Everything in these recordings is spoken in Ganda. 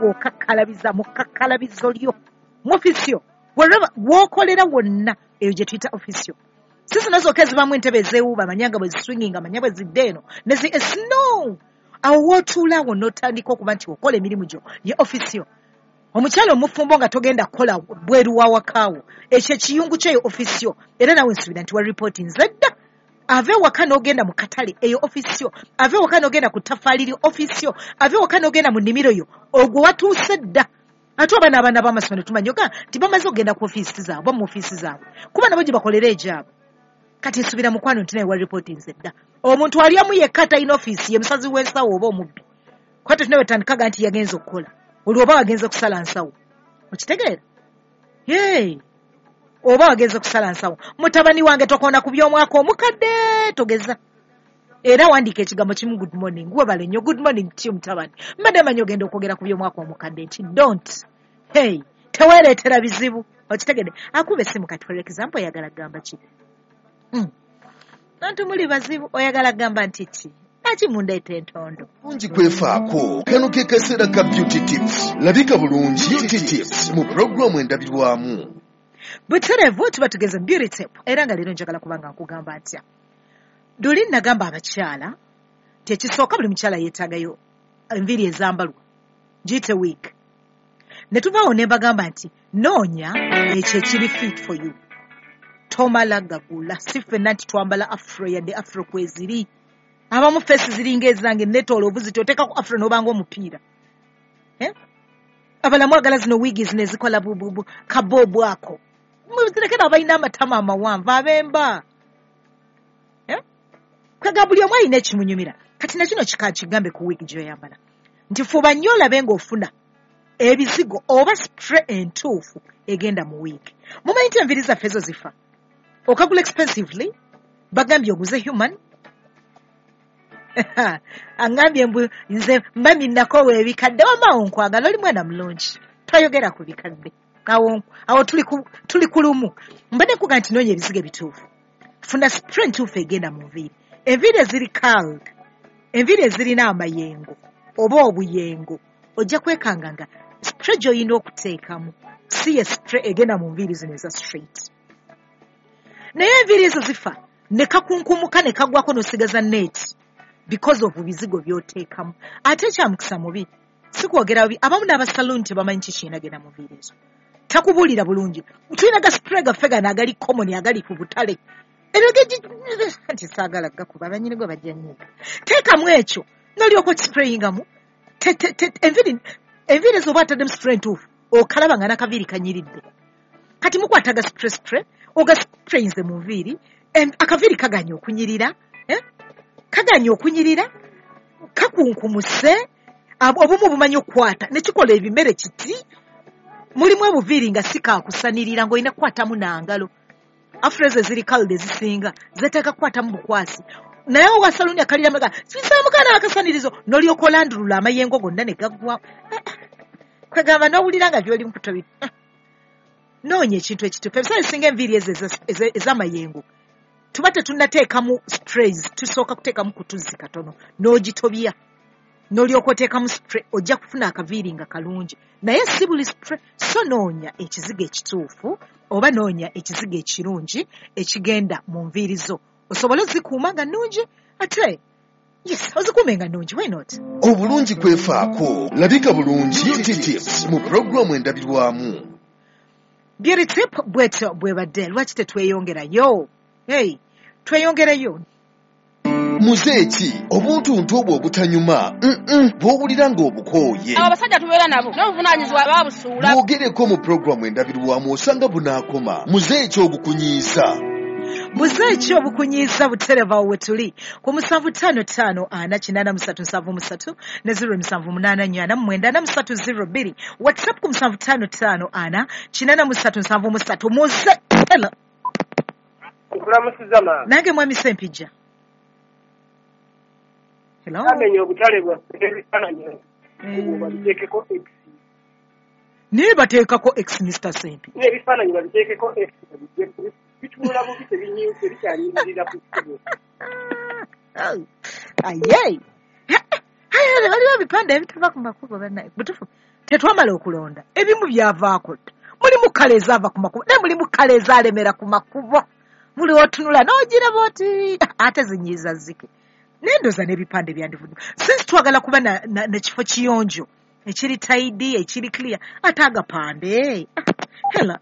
ng'okakkalabiza mu kakkalabizo lyo mu ofiisi yo, wherever w'okolera wonna, eyo gye tuyita ofiisi yo. Si zino zokka ezibaamu entebe ezeewuuba, manya nga bwe ziswinginga, manya bwe zidda eno nezi no awo w'otuula awo n'otandika okuba nti okola emirimu gyo, ye ofiisi yo. Omukyala omufumbo nga togenda kukola bweru wa wakaawo, ekyo ekiyungu kyeyo ofiisi yo. Era nawe nsuubira nti wa ripooti nze dda. Ave ewaka n'ogenda mu katale, eyo ofiisi yo. Ave ewaka n'ogenda ku ttafaali lyo, ofiisi yo. Ave ewaka n'ogenda mu nnimiro yo, ogwo watuuse dda. Ate oba n'abaana b'amasomero tumanyi oga nti bamaze okugenda ku ofiisi zaabwe, mu ofiisi zaabwe, kuba nabo gye bakolera egyabwe. Kati nsuubira mukwano nti naye wa ripooti nze dda. Omuntu alyamu yekka atalina ofiisi ye musazi w'ensawo oba omubbi, kuba tetunawe tandikaga nti yagenze okukola, olwo oba wagenze kusala nsawo. Okitegeera? Yee, oba wagenze kusala nsawo. Mutabani wange, tokoona ku by'omwaka omukadde, togeza. Era wandiika ekigambo kimu, good morning. Webale nnyo. Good morning to you, mutabani. Mbadde manyi ogenda okwogera ku by'omwaka omukadde nti don't, hey, teweereetera bizibu. Okitegedde? Akuba essimu kati, for example, oyagala kugamba ki? Antu muli bazibu. Oyagala kugamba nti ki? Lwaki mundeeta entondo? Bulungi kwefaako. Kano ke kaseera ka Beauty Tips. Labika bulungi, Beauty Tips mu pulogulaamu Endabirwamu. Butereevu tuba tugeze mu Beauty Tip, era nga leero njagala kuba nga nkugamba ntya. Luli nagamba abakyala nti ekisooka, buli mukyala yeetaagayo enviiri ezambalwa, giyite wig. Ne tuvaawo ne mbagamba nti noonya ekyo ekiri fit for you, tomala gagula. Si ffenna nti twambala afro, yadde afro kweziri. Abamu face ziringa ezange, netooloovu ziti, oteekako afro n'obanga omupiira. Eh? Abalamu agala zino wiigi zino ezikola bububu kaboobu ako, muzirekera abalina amatama amawanvu abemba. Eh? Kwega buli omu alina ekimunyumira. Kati nakino kika kigambe ku wiigi gy'oyambala nti fuba nnyo olabe ng'ofuna ebizigo oba spray entuufu egenda mu wiigi. Mumanyi nti enviiri zaffe ezo zifa, okagula expensively, bagambye oguze human. Aŋŋambye mbu nze mami nakoowa ebikadde. Wamaawo nkwagala, oli mwana mulungi, twayogera ku bikadde awo awo tuli ku lumu. Mbadde nkuga nti noonya ebizigo ebituufu, funa spray entuufu egenda mu nviiri. Enviiri eziri curled, enviiri ezirina amayengo oba obuyengo, ojja kwekanga nga spray gy'olina okuteekamu si ye spray egenda mu nviiri zino eza straight. Naye enviiri ezo zifa ne kakunkumuka ne kagwako n'osigaza net because of bizigo by'oteekamu. Ate ekyamukisa mubi, si kwogera bubi, abamu n'abasaluuni tebamanyi ki kirina genda mu nviiri ezo, takubuulira bulungi. Tulina ga spray gaffe gano agali common, agali ku butale, ebyo nti saagala gakuba, abanyini gwe bajja nnyiga. Teekamu ekyo n'olyoka okisprayingamu. Enviiri ezo oba ataddemu spray entuufu, okalaba nga n'akaviiri kanyiridde. Kati mukwata ga spray ogasprayinze mu nviiri, akaviiri kaganya okunyirira, eh? Kaganya okunyirira, kakunkumuse. Obumu bumanyi okukwata ne kikola ebimere kiti. Mulimu obuviiri nga si kakusanirira, ng'olina kukwatamu nangalo. Afro ezo eziri curled ezisinga zeetaaga kukwatamu bukwasi, naye owa saluuni akalira maga kisaamuka n'akasanirizo n'olyoka olandulula amayengo gonna ne gaggwa. Kwegamba n'owulira nga by'oli mukuto. Noonya ekintu ekituufu. Ebiseera ebisinga enviiri ezo ez'amayengo tuba tetunnateekamu sprays, tusooka kuteekamu kutuzzi katono n'ogitobya n'olyoka oteekamu spray, ojja kufuna akaviiri nga kalungi. Naye si buli spray. So noonya ekizigo ekituufu oba noonya ekizigo ekirungi ekigenda mu nviiri zo, osobole ozikuuma nga nnungi. Ate yes, ozikuume nga nnungi, why not? Obulungi kwefaako. Labika bulungi, Beauty Tips mu pulogulaamu Endabirwamu. Beauty tip bwetyo bwebadde. Lwaki tetweyongerayo? Hey, tweyongereyo. Muze ki obuntuntu obwo obutanyuma bw'owulira ng'obukooye? Abo abasajja tubeera nabo n'obuvunaanyizibwa babusuula. Bwogereko mu pulogulaamu Endabirwamu, osanga bunaakoma. Muze ki obukunyiiza? Muze ki obukunyiiza? Butereva we tuli ku 755 483 73 ne 0784 9493 02, WhatsApp ku 755 483 73. Muze, hello. Nkulamusiza, maama. Nange, mwami Sempijja, hello. Amenya obutale bwaffe n'ebifaananyi babiteekeko X. Naye bateekako X, Mr Sempi. N'ebifaananyi babiteekeko X, babijje, bitunula bubi, tebikyanyindirira ku kkubo. Aye, waliwo ebipande ebitava ku makubo. Bannaye, butuufu. Tetwamala okulonda, ebimu byavaako dda. Mulimu kale ezaava ku makubo, naye mulimu kale ezaalemera ku makubo. Buli otunula n'ogiraba oti ate zinyiiza zike. Naye ndowooza n'ebipande byandivudde. Since twagala kuba na kifo kiyonjo, ekiri tidy, ekiri clear, ate agapande. Hela.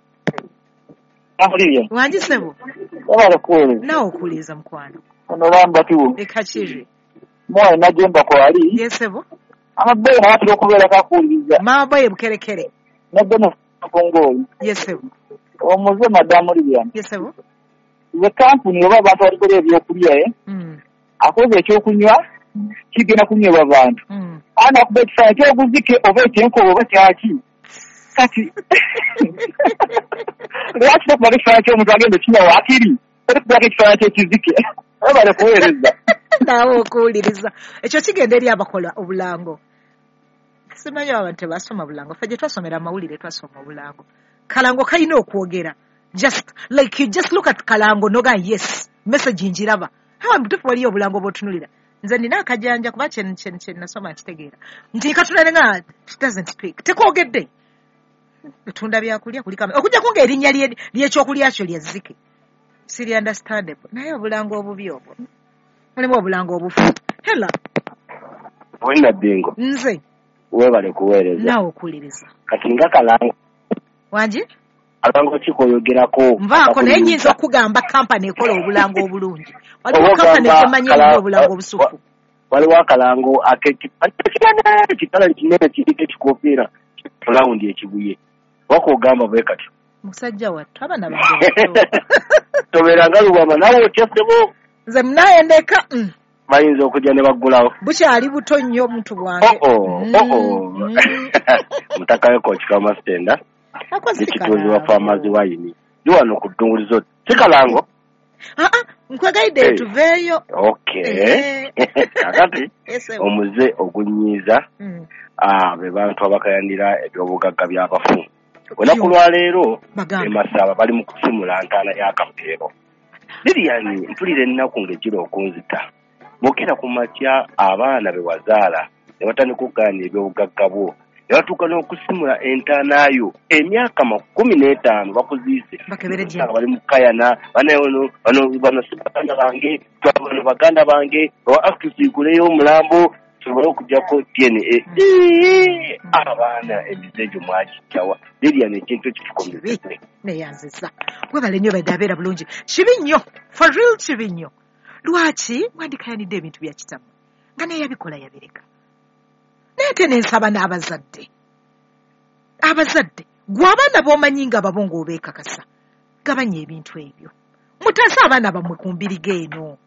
Akuliriye. Wangi ssebo. Wabala kuweereza. Naawe okuwuliriza mukwano. Ono bamba kiwo. Ekakiri. Mwana najemba kwali. Yes ssebo. Amabeere naye atera okubeerako akuwuliriza. Maama boy Bukerekere. Nabbe Kongooyi. Yes ssebo. Omuze Madamu Lilian. Yes ssebo. Ze kampuni oba abantu abalikola ebyokulya akoze ekyokunywa kigenda kunywebwa bantu. Ana kuba ekifaananyi ky'oguzike oba ekyenkobe oba kyaki. Kati lwaki tokubako ekifaananyi ky'omuntu agenda okinywa waakiri olikubako ekifaananyi ky'ekizike webale kuweereza. Naawe okuwuliriza. Ekyo kigenda eri abakola obulango. Simanyi abantu tebasoma bulango. Ffe gye twasomera amawulire twasoma obulango. Kalango kalina okwogera. Just like you just look at kalango noga yes message njiraba. Hawa mtufu waliyo obulango bw'otunulira. Nze nina akajanja kuba kye nasoma nkitegeera. Nti katunula nga it doesn't speak. Tekwogedde. Etunda byakulya kuliko okujjako ng'erinnya ly'ekyokulya kyo lya zzike. Siri understandable. Naye obulango obubi obwo. Mulimu obulango obufu. Hela. Olina bingo. Nze. Weebale kuweereza. Naawe okuwuliriza. Kati nga kalango. Wangi? Kalango ki k'oyogerako? Nvaako naye nnyinza okugamba kampani ekola obulango obulungi. Waliwo kampani emanyi erina obulango obusufu. Waliwo akalango ak'ekitala kinene kiriko ekikofiira fulawundi ekibuye. Wakogamba bwe katyo. Musajja wattu abaana bange. Tobeeranga lubama naawe otya ssebo. Nze munaye ndeka. Bayinza okujja ne baggulawo. Bukyali buto nnyo omuntu bwange. Mutakayo Kochi Masitenda. Ekituuzi wa Farmers Wine. Ndi wano ku ddungulizo. Si kalango? Nkwegayidde tuveeyo. Okay. Kakati omuze ogunyiiza be bantu abakayanira ebyobugagga by'abafu. Olunaku lwaleero e Masaba bali mu kusimula ntaana ya Kapeero. Lilian mpulira ennaku ng'ejjira okunzita. Bw'okera ku makya abaana be wazaala ne batandika okugaana ebyobugagga bwo. Ne batuuka n'okusimula entaana yo emyaka 15 bakuziise. Bali mu kukayana bano si baganda bange, bano baganda bange, tusiiguleyo omulambo tusobole okuggyako DNA. Abaana emize egyo mwagijjawa. Lilian ekintu ekitukomezebwe. Neyanziza. Webale nnyo badde abeera bulungi. Kibi nnyo, for real kibi nnyo. Lwaki mwandikayanidde ebintu bya kitammwe nga naye yabikola yabireka. Naye ate nensaba n'abazadde. Abazadde, gwe abaana b'omanyi nga babo ng'obeekakasa, gabanya ebintu ebyo. Mutaase abaana bammwe ku mbiriga eno.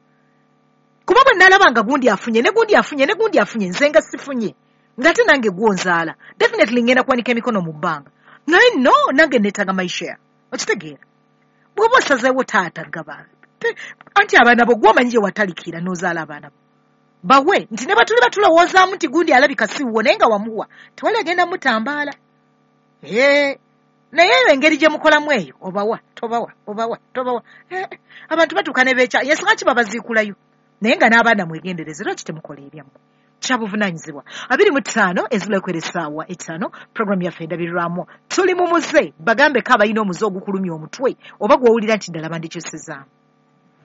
Kuba bwe nalaba nga gundi afunye, ne gundi afunye, ne gundi afunye, nze nga sifunye. Ng'ate nange gw'onzaala. Definitely ngenda kuwanika emikono mu bbanga. Naye no, nange neetaaga my share. Okitegeera? Bw'oba osazeewo taata gaba. Anti abaana bo gw'omanyi gye watalikira n'ozaala abaana bo. Bawe nti ne batuli batulowoozaamu nti gundi alabika si wuwo naye nga wamuwa tewali agenda mutambaala. Naye eyo engeri gye mukolamu eyo obawa tobawa obawa tobawa. Abantu batuuka ne beekya yensonga ki babaziikulayo. Naye nga n'abaana mwegendereze lwaki temukola ebyammwe. Kyabuvunaanyizibwa. 25 ezibulako essaawa 5 program yaffe endabirirwamu. Tuli mu muze bagambeko abalina omuze ogukulumya omutwe oba gw'owulira nti ddala bandikyusizaamu.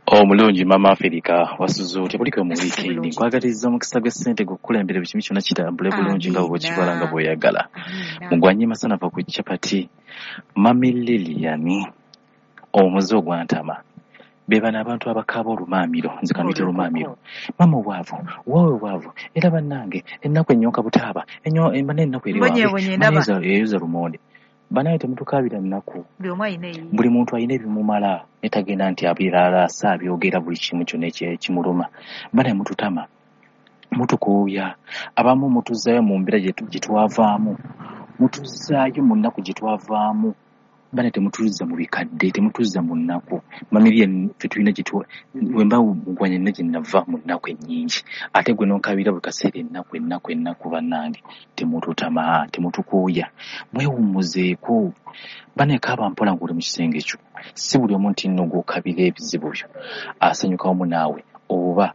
Omulungi Mama Africa wasuze otya buliko mu weekend nkwagaliza omukisa gw'essente gukukulembera buli kimu kyonna kitambule bulungi nga bw'okibala nga bw'oyagala. Mugwanye masanafa ku chapati Mami Lilian omuze ogwantama be bano abantu abakaaba olumaamiro nze kanuyite lumaamiro mama obwavu waawe bwavu era bannange ennaku ennyonka butaaba ennaku eri wange eyoza lumonde. Banaye temutukaabira nnaku. Buli muntu alina ebimumala netagenda nti abirala abyogera buli kimu kyonna ekimuluma. Banaye mututama, mutukooya, abamu mutuzaayo mu mbeera gye twavaamu, mutuzaayo mu nnaku gye twavaamu. Banaye temutuzza mu bikadde, temutuzza mu nnaku. Mamiria ffe tulina wemba mugwanya nina gye nava mu nnaku ennyingi ate gwe n'onkabira buli kaseera ennaku ennaku ennaku. Bannange temututama, temutukooya, mwewummuzeeko. Banaye kaaba mpola ng'oli mu kisenge kyo. Si buli omu nti nno gw'okabira ebizibu byo asanyuka wamu naawe oba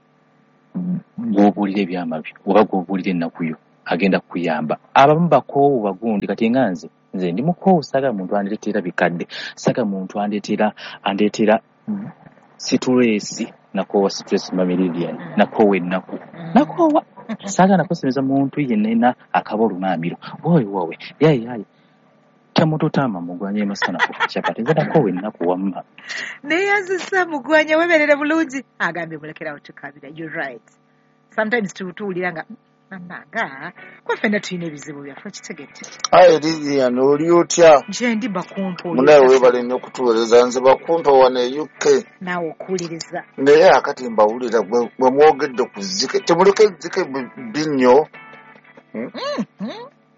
gw'obuulira ebyama byo oba gw'obuulira ennaku yo. Agenda kukuyamba. Abamu bakoowu bagundi kati nga nze ndi mukoowu, saagala muntu andeetera bikadde, saagala muntu andeetera situleesi. Nakoowa situleesi mamiliyoni, nakoowa ennaku, nakoowa. Saagala nakusemeza muntu yenna akaba olumaamiro woowe woowe yaye yaye temututama mugwanya emasana ku chapati nze nakoowa ennaku wamma. Neyanzisa mugwanya, weberere bulungi. Agambye mulekerawo tukabira. You're right, sometimes tuwulira nga manga kwa ffenna tulina ebizibu byaffe, kitegedde. Aye Lilian, oli otya? Nje ndi bakumpa. Munaye weebale nnyo okutuweereza. Nze bakumpa wano e UK. Naawe okuwuliriza. Naye akati mbawulira bwe mwogedde ku zzike, temuleka ezzike bbi nnyo.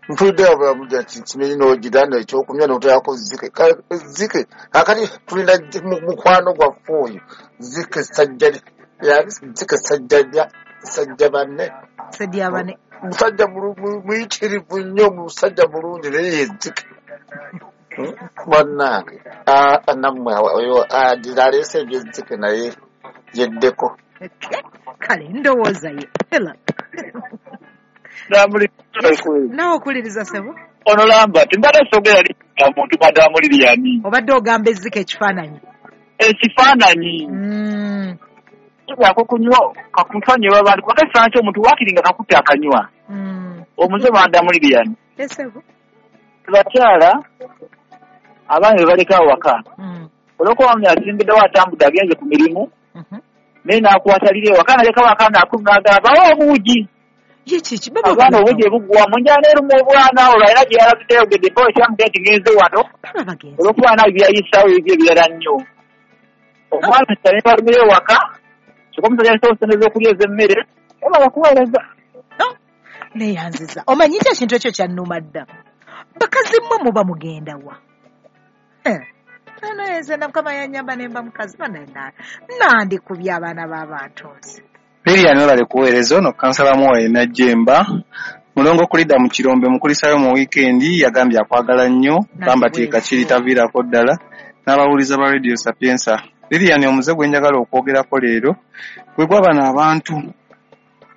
Mpulidde abamulya nti nsimanyi n'ogira ekyokunywa n'oteekako zzike. Zzike akati tulina mukwano gwaffe oyo zzike zzike sajja banne. Sajja banne. Musajja muyitirivu nnyo, musajja mulungi naye yezzike. Bannange nammwe oyo adira aleese ebyezzike naye yeddeko. Kale ndowooza ye. Hello. Naawe okuwuliriza ssebo. Ono Lambert, mbadde sogera muntu madamu Lilian. Obadde ogamba ezzike ekifaananyi. Ekifaananyi. Ako kunywa kakusanywa abantu kubanga ekifaananyi ky'omuntu waakiri nga kakutte akanywa. Omuze madamu Lilian. Ssebo. Bakyala abaana be baleka awaka. Olw'okuba omwami asimbiddewo atambudde agenze ku mirimu, naye n'akwata liri ewaka n'alekawo akaana akumi n'agamba bawe obuugi. Abaana obuugi ebuggwamu njala eruma obwana olwo alina gye yalabidde ayogedde mpa ekyamugenda nti ngenze wano olw'okuba naawe byayisaawo ebyo ebirala nnyo. Omwana kyane balumira ewaka kyokka omusajja alisawo ssente z'okulya ez'emmere oba bakuweereza. Neeyanziza. Omanyi nti ekintu ekyo kyannuma dda. Bakazi mmwe muba mugenda wa? Nze na Mukama yannyamba ne mba mukazi nandikubye abaana b'abantu nze. Lilian webale kuweereza. Ono kansala Mwoyo Najjemba mulongo kulidda mu kirombe mukulisayo mu wiikendi yagambye akwagala nnyo Lambert Kakiri taviirako ddala n'abawuliza ba Radio Sapienza. Lilian omuze gwe njagala okwogerako leero gwe gwa bano abantu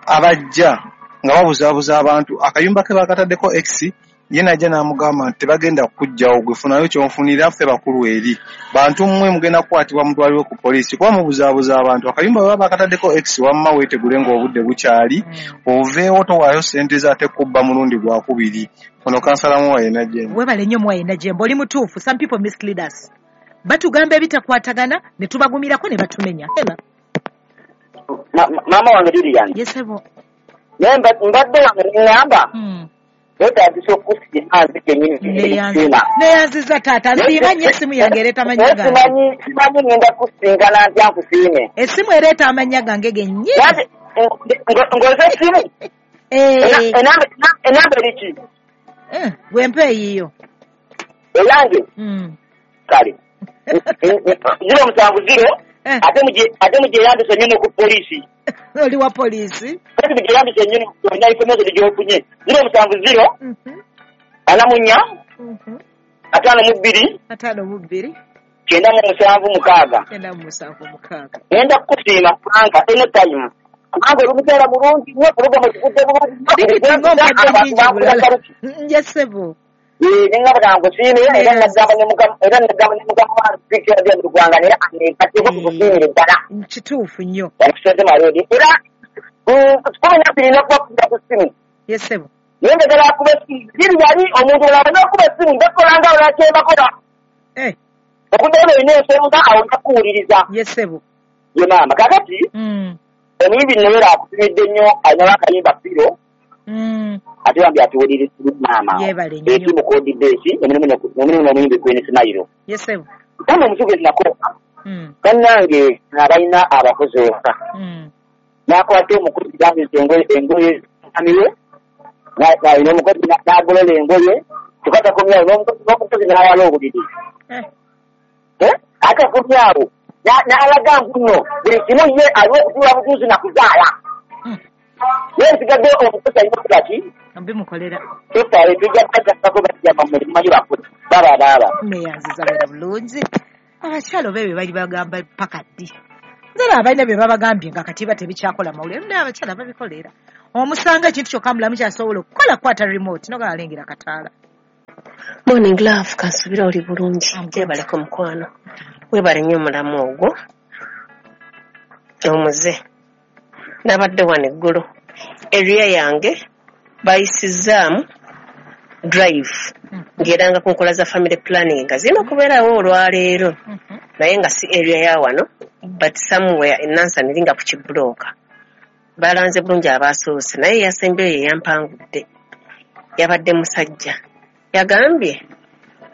abajja nga babuzaabuza abantu. Akayumba ke bakataddeko X ye najja n'amugamba nti tebagenda kukujjawo gwe funayo ky'onfunira ffe bakulu eri bantu mmwe mugenda kukwatibwa mutwalibwe ku poliisi kuba mubuzaabuza abantu. Akayumba bwe baba bakataddeko X wamma weetegule ng'obudde bukyali oveewo towaayo ssente zo ate kubba mulundi gwakubiri. Ono kansala Mwoyo Najjemba. Weebale nnyo Mwoyo Najjemba, oli mutuufu. Some people mislead us. Batugamba ebitakwatagana ne tubagumirako ne batumenya. Maama wange Lilian. Yes ssebo. Naye mbadde wange neŋŋamba neetaagisa okusiima nze kennyini. Neeyanziza taata, nsiima nnyo essimu yange ereeta amannya gange. Simanyi ngenda kusinkana ntya nkusiime. Essimu ereeta amannya gange gennyini. Ng'oze essimu? Enamba eri ki? Gwe mpa eyiyo. Eyange? Kale. 070 ate mugyeyambise nnyo ku poliisi. Oli wa poliisi? Ate mugyeyambise nnyo olina information gy'ofunye. 070 44 52 52 97 6. 97 6. Ngenda kukusiima kubanga anytime kubanga oli mukyala mulungi nnyo pulogulaamu ekivudde bulungi. Nje ssebo. Nengamba nkusiime era nagamba ne mugamba wange mu ggwanga era aneegatteko tukusiimire ddala. Kituufu nnyo. Yakusente Malodi era 12 n'okubakubira ku ssimu. Yes ssebo. Naye njagala akuba essimu ziri yali omuntu olaba n'okuba essimu bakola nga olwakyebakola. Okuddayo olina ensonga awo nja kukuwuliriza. Yes ssebo. Ye maama kaakati omuyimbi Nowera akutumidde nnyo alinawo akayimba Piro. Ate bambi atuwuliriza maama. Yeebale nnyo. Eki mukodi besi omulimu n'omuyimbi Queen Smile. Yes ssebo. Kama omusuubuzi nako bannange abalina abakozi ewaka n'akwata omukozi gambisa engoye amiwe n'omukozi n'agolola engoye kyokka takomyawo n'omukozi n'awala obuliri ate akomyawo n'alaga nguno buli kimu ye aliwo okutuula butuuzi na kuzaala. Naye nsigadde omukozi alina okukola ki? Bimukolera. Tofaayo tujja kubazzako bajja bammwe mumanyi bakozi baba baaba. Neeyanziza beera bulungi. Abakyala oba ebyo bali bagamba paka ddi? Nze abalina bye babagambye nga kati ba tebikyakola mawulire naye abakyala babikolera. Omusanga ekintu kyokka mulamu kyasobola okukola kwata remote noga alengera kataala. Morning love, kansubira oli bulungi. Gyebaleko mukwano. Webale nnyo omulamu ogwo. Omuze. Nabadde wano eggulo. Area yange bayisizaamu drive. Ng'eranga ku nkola za family planning nga zirina okubeerawo olwaleero. Naye nga si area ya wano, but somewhere e Nansana eringa ku kibulooka. Balanze bulungi abaasoose naye eyasembyeyo ye yampangudde. Yabadde musajja. Yagambye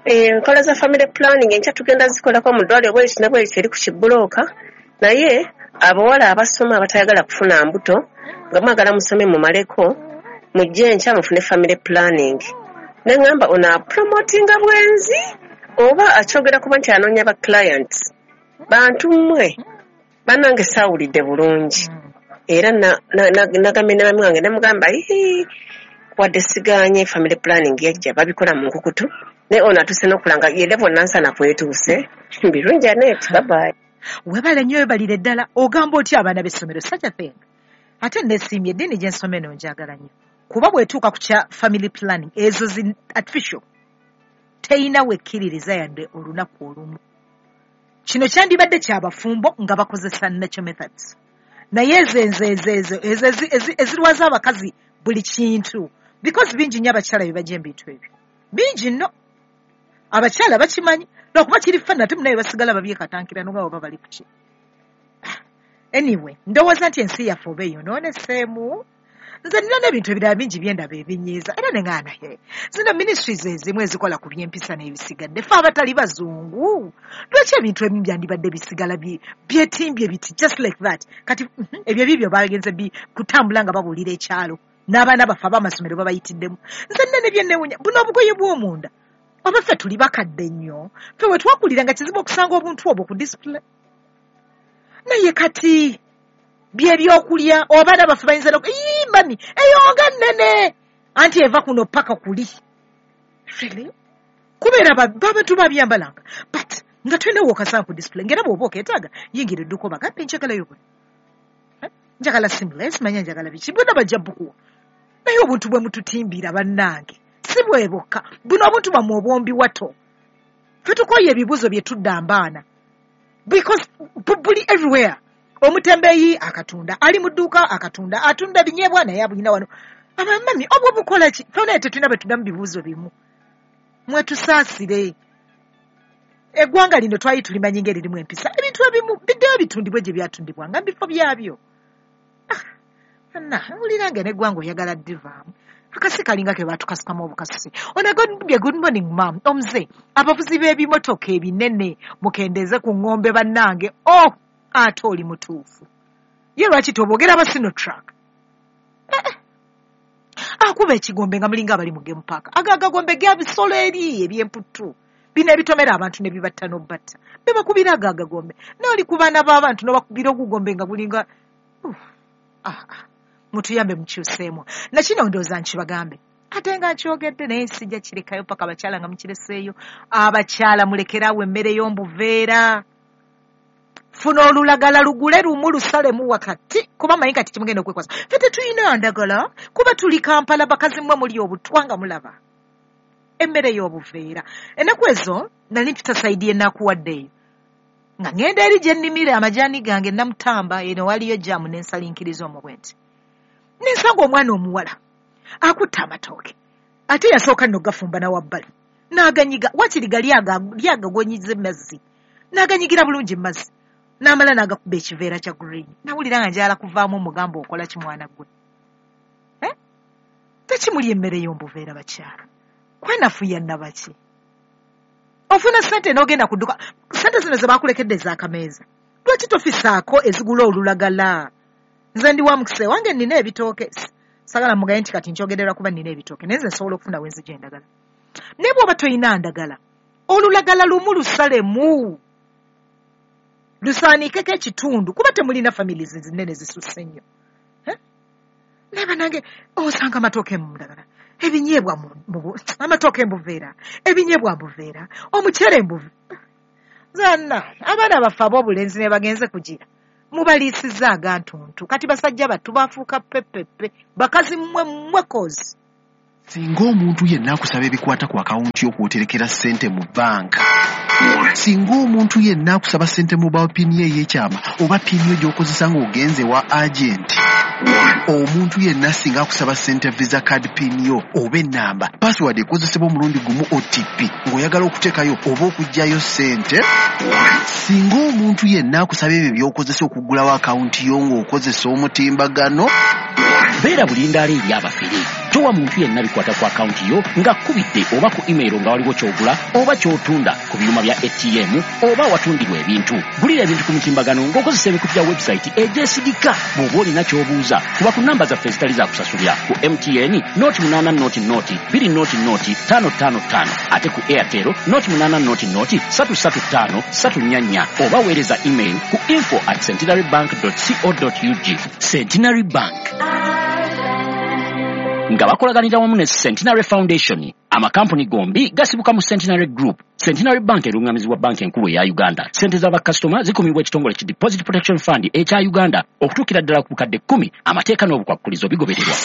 enkola za family planning enkya tugenda zikolako mu ddwaliro bwekiti ne bwekiti eri ku kibulooka, naye abawala abasoma abatayagala kufuna mbuto nga mwagala musome mumaleko mujje enkya mufune family planning. Ne ŋŋamba ono apromotinga bwenzi oba akyogera kuba nti anoonya ba clients. Bantu mmwe bannange saawulidde bulungi. Era nagambye ne mami wange ne mugamba wadde sigaanye family planning yajja babikola mu nkukutu naye ono atuuse n'okulanga ye level Nansana kwetuuse. Birungi Anet, bye bye. Webale nnyo webalire ddala. Ogamba otya abaana b'essomero such a thing. Ate neesiimye eddiini gye nsoma eno njagala nnyo. Kuba bw'etuuka ku kya family planning ezo zi artificial teyina wekkiririza yadde olunaku olumu. Kino kyandibadde kyabafumbo nga bakozesa natural methods. Naye ezo ezirwaza abakazi buli kintu. Because bingi nnyo abakyala bye bajja ebintu ebyo. Bingi nno. Abakyala bakimanyi lwakuba kiri fana ate munaye basigala babyekatankira n'oba oba bali ku ki. Anyway, ndowooza nti ensi yaffe oba eyonooneseemu. Nze nina n'ebintu ebirala bingi bye ndaba ebinyiiza era ne ŋŋaana he. Zino ministries ezimu ezikola ku by'empisa n'ebisigadde ffe abatali bazungu. Lwaki ebintu ebimu byandibadde bisigala byetimbye biti just like that. Kati ebyo bibyo bagenze kutambula nga babuulira ekyalo n'abaana baffe ab'amasomero babayitiddemu. Nze nina ne bye nneewuunya buno obugoye bw'omunda. Oba ffe tuli bakadde nnyo. Ffe we twakulira nga kizibu okusanga obuntu obwo ku display. Naye kati bye byokulya abaana baffe bayinza mami eyo nga nnene anti eva kuno paka kuli. Really? Kubeera abantu babyambalanga but nga tulina w'okasanga ku display ng'era bw'oba okeetaaga yingira edduuka obagambe njagalayo buno. Njagala seamless manya njagala biki bwonna bajja bukuwa. Naye obuntu bwe mututimbira bannange si bwe bwokka buno obuntu bwammwe obwombi wato. Ffe tukooye ebibuuzo bye tudda mbaana because buli everywhere. Omutembeeyi akatunda, ali mu dduuka akatunda, atunda binyeebwa naye abulina wano. Abamami obwo bukola ki? Ffe naye tetulina bwe tuddamu bibuuzo bimu. Mwetusaasire. Eggwanga lino twali tulimanyi ng'eririmu empisa. Ebintu ebimu biddeyo bitundibwe gye byatundibwanga mu bifo byabyo. Na wulira nga n'eggwanga oyagala ddivaamu. Akasi kalinga ke baatukasukamu obukasusi. Ono agambye good morning ma'am. Omuze abavuzi b'ebimotoka ebinene mukendeeze ku ng'ombe bannange. Oh! Ate oli mutuufu. Ye lwaki toboogera aba Sinotruck? Akuba ekigombe nga mulinga abali mu game park. Ago agagombe ga bisolo eri eby'emputtu. Bino ebitomera abantu ne bibatta n'obbatta. Bebakubira ago agagombe. N'oli ku baana b'abantu n'obakubira ogugombe nga gulinga mutuyambe mukyuseemu. Na kino ndowooza nkibagambe. Ate nga nkyogedde naye sijja kirekayo paka abakyala nga mukireseeyo. Abakyala mulekeraawo emmere y'omubuveera. Funa olulagala lugule lumu lusalemu wakati kuba manyi kati kimugenda okwekwasa. Ffe tetulina ndagala kuba tuli Kampala bakazi mmwe muli obutwa nga mulaba emmere y'obuveera. Ennaku ezo nali mpita sayidi y'enaakuwadde eyo nga ŋŋenda eri gye nnimira amajaani gange Namutamba eno waliyo jaamu n'ensalinkiriza omwo bwe nti. Nensanga omwana omuwala akutte amatooke ate yasooka nno gafumba na wabbali n'aganyiga wakiri gali agagonyiza emmazzi n'aganyigira bulungi emmazzi. N'amala n'agakuba ekiveera kya green. Nawulira nga njagala kuvaamu omugambo okola ki mwana gwe. Tekimuli emmere y'omubuveera bakyala. Kwenafuya nnabaki. Ofuna ssente n'ogenda ku dduka. Ssente zino ze baakulekedde ez'akameeza. Lwaki tofisaako ezigula olulagala? Nze ndi wa mukisa wange nnina ebitooke. Sagala mugaye nti kati nkyogerera kuba nnina ebitooke. Naye nze nsobola okufuna we nzija endagala. Naye bw'oba toyina ndagala, olulagala lumu lusalemu. Lusaaniikeko ekitundu kuba temulina families zinene zisusse nnyo. Naye bannange osanga amatooke mu ndagala, ebinyeebwa amatooke mbuveera, ebinyeebwa mbuveera, omuceere mbuveera. Zanna abaana baffe ab'obulenzi ne bagenze kugira. Mubaliisizza agantuntu. Kati basajja battu bafuuka pepepe. Bakazi mmwe mmwe kozi. Singa omuntu yenna akusaba ebikwata ku akawunti y'okwoterekera ssente mu banka. Singa omuntu yenna akusaba ssente mobile pin ye ey'ekyama oba pin yo gy'okozesa ng'ogenze wa agenti. Omuntu yenna singa akusaba ssente visa card pin yo oba ennamba, password ekozesebwa omulundi gumu OTP ng'oyagala okuteekayo oba okuggyayo ssente. Singa omuntu yenna akusaba ebyo by'okozesa okuggulawo akawunti yo ng'okozesa omutimbagano. Beera bulindaala eri abafere. Towa muntu yenna bikwata ku akawunti yo ng'akkubidde oba ku email nga waliwo ky'ogula oba ky'otunda ku byuma bya ATM oba awatundirwa ebintu. Gulira ebintu ku mutimbagano ng'okozesa emikutu gya website egyesigika. Bw'oba olina ky'obuuza, kuba ku namba zaffe ezitali za kusasulira ku MTN 08 0 0 2 0 0 5 5 5 ate ku Airtel 08 0 0 3 3 5 3 4 4 oba weereza email ku info@centenarybank.co.ug. Centenary Bank nga bakolaganira wamu ne Centenary Foundation. Amakampuni gombi gasibuka mu Centenary Group. Centenary Bank erungamizibwa banka enkulu eya Uganda. Ssente z'abakasitoma zikumibwa ekitongole ki Deposit Protection Fund ekya Uganda okutuukira ddala ku bukadde 10. Amateeka n'obukwakkulizo bigobererwa.